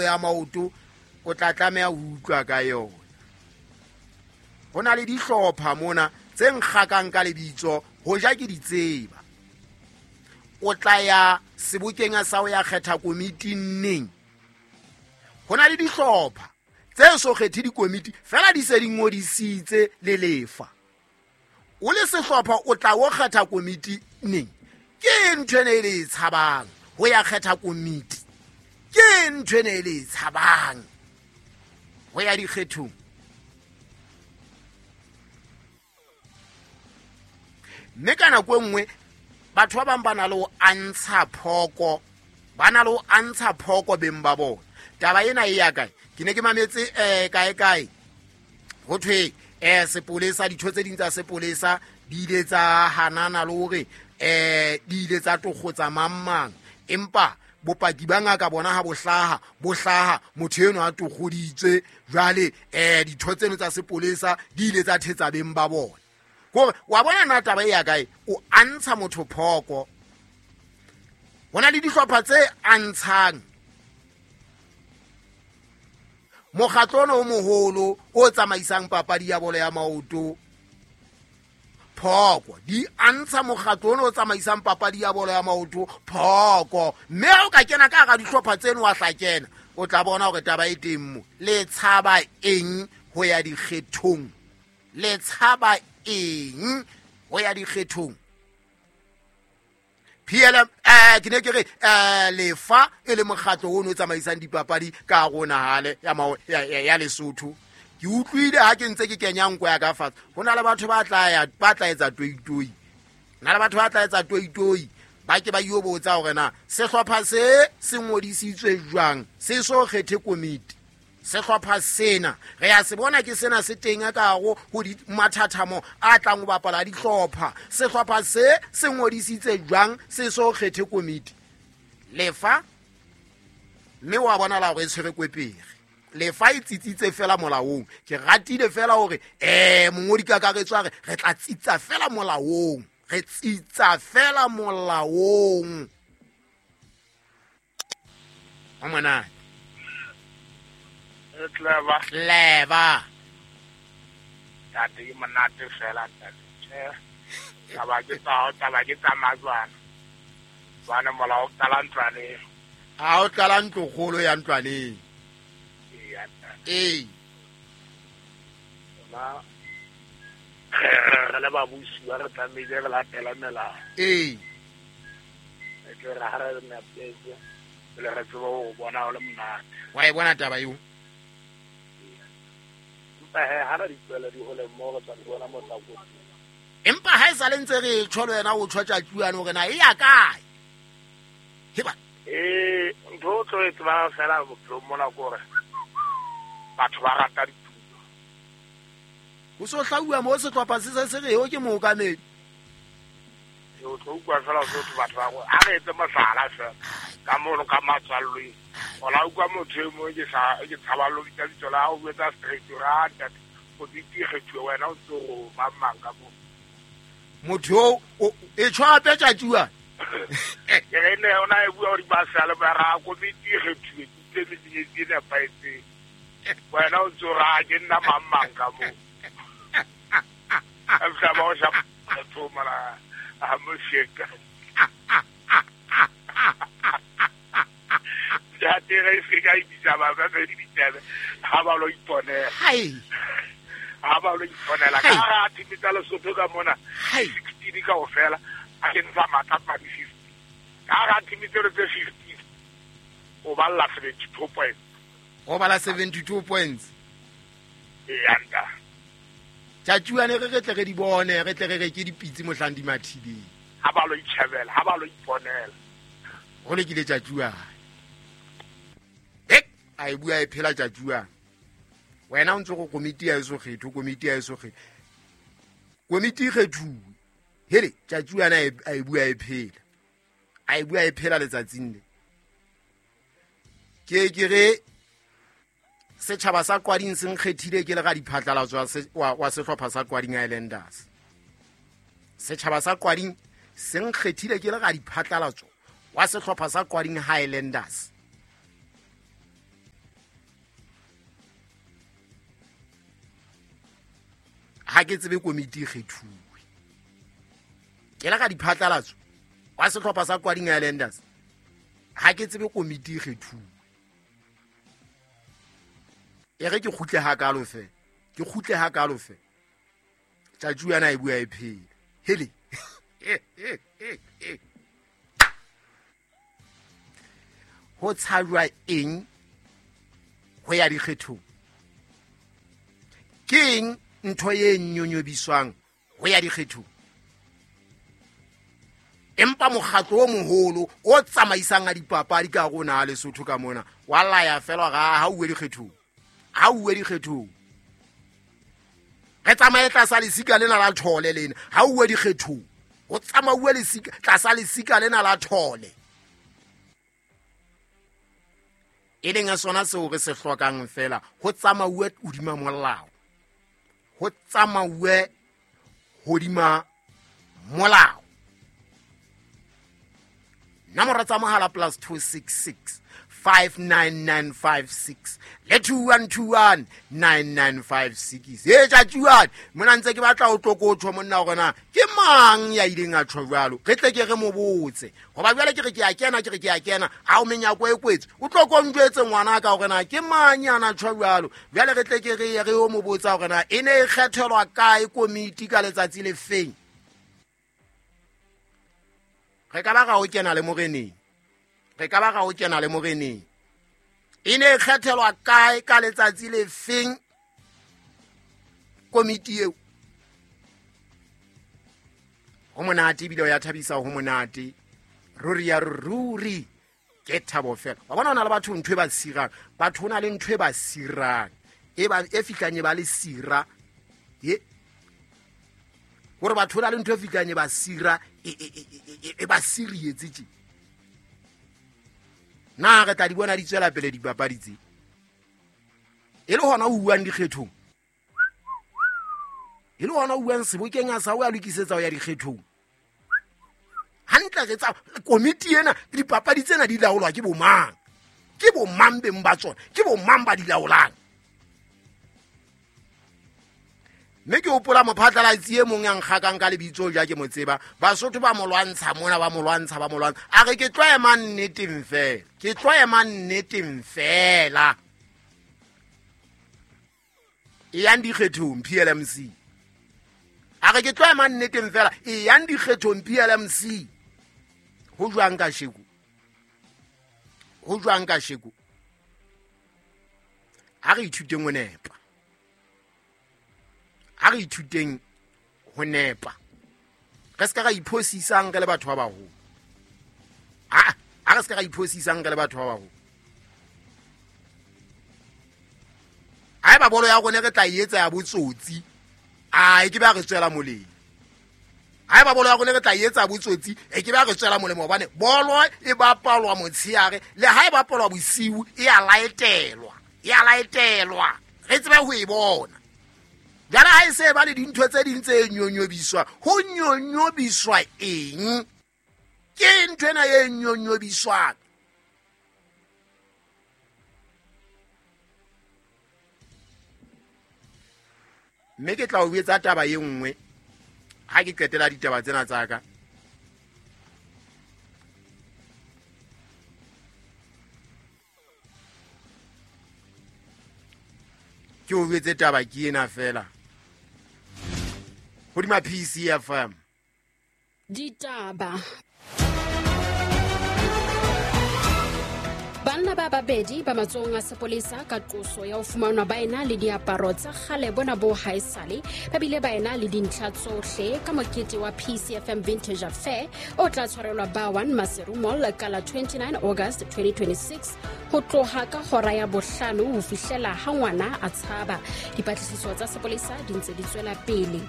bolo ya maoto o tla tlameha ho utlwa ka yona. Ho na le dihlopha mona tse nkgakang ka lebitso ho ja ke di tseba. O tla ya sebokeng sa ho ya kgetha komiti neng? Ho na le dihlopha tse so kgethe dikomiti fela di se di ngodisitse le lefa. O le sehlopha o tla o kgetha komiti neng? Ke ntho ene e le e tshabang ho ya kgetha komiti. Ke ntho ene e le e tshabang ho ya dikgethong. Mme ka nako e nngwe batho ba bang ba na le ho antsha phoko, ba na le ho antsha phoko beng ba bona. Taba ena e ya kae? Ke ne ke mametse kae kae ho thwe sepolesa, ditho tse ding tsa sepolesa di ile tsa hanana le hore di ile tsa tokgotsa mang mang, empa bopaki ba ngaka bona ha bo hlaha motho eno a tokgoditswe. Jwale ditho tseno tsa sepolesa di ile tsa thetsa beng ba bona. Kore wa bona na taba e ya kae? O antsha motho phoko. Ho na le dihlopha tse antshang mokgatlo ono o moholo o tsamaisang papadi ya bolo ya maoto phoko. Di antsha mokgatlo ono o tsamaisang papadi ya bolo ya maoto phoko. Mme ha o ka kena ka hara dihlopha tseno wa hla kena, o tla bona hore taba e teng mo. Le tshaba eng ho ya dikgethong? Le tshaba eng ho ya dikgethong? PLM ke ne ke re lefa e le mokgatlo ono o tsamaisang dipapadi ka hare ho naha le ya Lesotho. Ke utlwile ha ke ntse ke kenya nko ya ka fatshe, ho na le batho ba tla ya, ba tla etsa toitoi. Na le batho ba tla etsa toitoi, ba ke ba yo botsa hore na sehlopha se se ngodisitswe jwang, se so kgethe komiti. Sehlopha sena re ya se bona ke sena se teng ka hare ho di mathathamo a tlang ho bapala dihlopha. Sehlopha se se ngodisitse jwang, se so kgethe komiti? Lefa mme wa bona la hore e tshwere kwepere. Lefa e tsitsitse fela molaong. Ke ratile fela hore mongodi kakaretso a re re tla tsitsa fela molaong, re tsitsa fela molaong. O monate. Clever. Clever. Ntate ke monate fela ntate. Tjhe. Taba ke tsa, taba ke tsa majwana. Jwana mola o qala ntlwaneng. Ha o qala ntlo kgolo ya ntlwaneng. Ee, ntate. Ee. Rona re le babusi ba re tlamehile re latele melao. Ee. E tle re ha re nepetse, pele re tsebe ho bona ho le monate. Wa e bona taba eo? Empa he, ha re di tlohele di hole moo re tla di bona motlakotsi. Empa ha e sa le ntse re tjho le wena o tjho tjatjuane hore na e ya kae? Heba. Ntho o tlo e tsebang fela bophelong mona ke hore batho ba rata ditulo. Ho so hlauwa moo sehlopha se se se re eo ke mookamedi. O tlo utlwa fela o tlo batho ba go, a re etse mohlala fela ka mono ka matswallweng. O la utlwa motho e mong ke sa, ke tshaba lo bitsa lebitso la hao, o etsa straight, o re, ah, ntate, o bitse kgethuwe wena o ntse o mang mang ka moo. Motho eo, o, e tjho hape tjatjuwa. Ke re ne ona e bua hore ba sale ba ra komiti e kgethuwe, ke utlwe menyetla e nepahetseng. Wena o ntse o re, ah, ke nna mang mang ka moo. A fihla ba o shapa motho mara a mo sheka. Ntate re se ka ibitsa ba ba be ditsebe ha ba lo iponela. Hai. Ha ba lo iponela. Ka ha team tsa Lesotho ka mona, Hai. 16 kaofela, a ke ntsha matla a di 50. Ka ha team tseno tse 50, o balla 72 points. O bala 72 points. Ee, anta. Tjatjuane re re tle re di bone, re tle re reke dipitsi mohlang di mathileng. Ha ba lo itjhebela, ha ba lo iponela. Ho lokile tjatjuane. Hek, a e bua e phela tjatjuane. Wena o ntse go komiti ya eso kgetho, komiti ya eso kgetho. Komiti e kgethuwe. Hele, tjatjuane a e bua e phela. A e bua e phela letsatsing le. Ke ke re setjhaba sa Qwading se nkgethile ke le ga diphatlalatso wa sehlopha sa Qwading Highlanders. Setjhaba sa Qwading se nkgethile ke le ga diphatlalatso wa sehlopha sa Qwading Highlanders. Ha ke tsebe komiti e kgethuwe. Ke la ka diphatlalatso wa sehlopha sa Kwading Islanders. Ha ke tsebe komiti e kgethuwe. E re ke kgutle hakalo fe. Ke kgutle hakalo fe. Tjatju yana e bua e phela. Hele. Ho tshajwa eng ho ya dikgethong? Ke eng ntho e nyonyobiswang ho ya dikgethong? Empa mokgatlo o moholo o tsamaisang a dipapadi ka rona a Lesotho ka mona wa laya fela ga ha uwe dikgethong, ha uwe dikgethong. Re tsamaye tlasa lesika lena la thole lena, ha uwe dikgethong. O tsamauwe lesika tlasa lesika lena la thole. E leng sona seo re se hlokang fela, ho tsamauwe hodima molao. Ho tsamauwe hodima molao. Nomoro tsa mohala +266 59956 le 2121 9956. E tjatjuane mona ntse ke batla o tlokotho monna hore na ke mang ya ileng a tjho jwalo, re tle ke re mo botse. Hoba jwale ke re ke a kena, ke re ke a kena, ha o menyako e kwetse o tlo ko njwetse ngwana ka hore na ke mang ya na tjho jwalo. Jwale re tle ke re ye re o mo botsa hore na e ne e kgethelwa kae komiti ka letsatsi le feng. Re ka ba ra o kena le moreneng. Re ka ba ra o kena le moreneng. E ne e kgethelwa kae ka letsatsi le feng komiti eo? Ho monate ebile o ya thabisa, ho monate. Ruri ya ruri ke thabo fela. Wa bona ho na le batho ntho e ba sirang. Batho ho na le ntho e ba sirang. E ba e fihlang e ba le sira. Ye. Hore batho ho na le ntho e fihlang e ba sira, e ba sirietse tje. Na re tla di bona di tswela pele dipapadi tse? E le hona o buang dikgethong. E le hona o buang sebokeng a sa o ya lokisetsa ho ya dikgethong. Hantle re tsa komiti ena, dipapadi tsena di laolwa ke bomang? Ke bomang beng ba tsona? Ke bomang ba di laolang? Mme ke hopola mophatlalatsi e mong ya nkgakang ka lebitso ja ke mo tseba. Basotho ba mo lwantsha mona, ba mo lwantsha, ba mo lwantsha. A re ke tlo ema nneteng fela. Ke tlo ema nneteng fela. E yang dikgethong PLMC. A re ke tlo ema nneteng fela. E yang dikgethong PLMC. Ho jwang ka sheko? Ho jwang ka sheko? Ha re ithuteng ho nepa. Ha re ithuteng ho nepa. Re se ka ra iphosisang re le batho ba baholo. Ha re se ka ra iphosisang re le batho ba baholo. Haeba bolo ya rona re tla e etsa ya botsotsi, a e ke ba re tswela molemo. Haeba bolo ya rona re tla e etsa botsotsi, e ke ba re tswela molemo hobane bolo e bapalwa motshehare, le ha e bapalwa bosiu e a laetelwa, e a laetelwa. Re tsebe ho e bona. Jwale ha e se ba le dintho tse ding tse nyonyobiswa, ho nyonyobiswa eng? Ke ntho ena e nyonyobiswang. Mme ke tla o etsa taba e nngwe ha ke qetela ditaba tsena tsa ka. Ke o jwetse taba ke ena fela. Hodima PCFM. Ditaba. Banna ba babedi ba matsohong a sepolesa ka qoso ya ho fumanwa ba ena le diaparo tsa kgale bona bo haesale, ba bile ba ena le dintlha tsohle ka mokete wa PCFM Vintage Affair o tla tshwarelwa ba 1 Maseru Mall ka la 29 August 2026 ho tloha ka hora ya bohlano ho fihlela ha ngwana a tshaba. Dipatlisiso tsa sepolesa di ntse di tswela pele.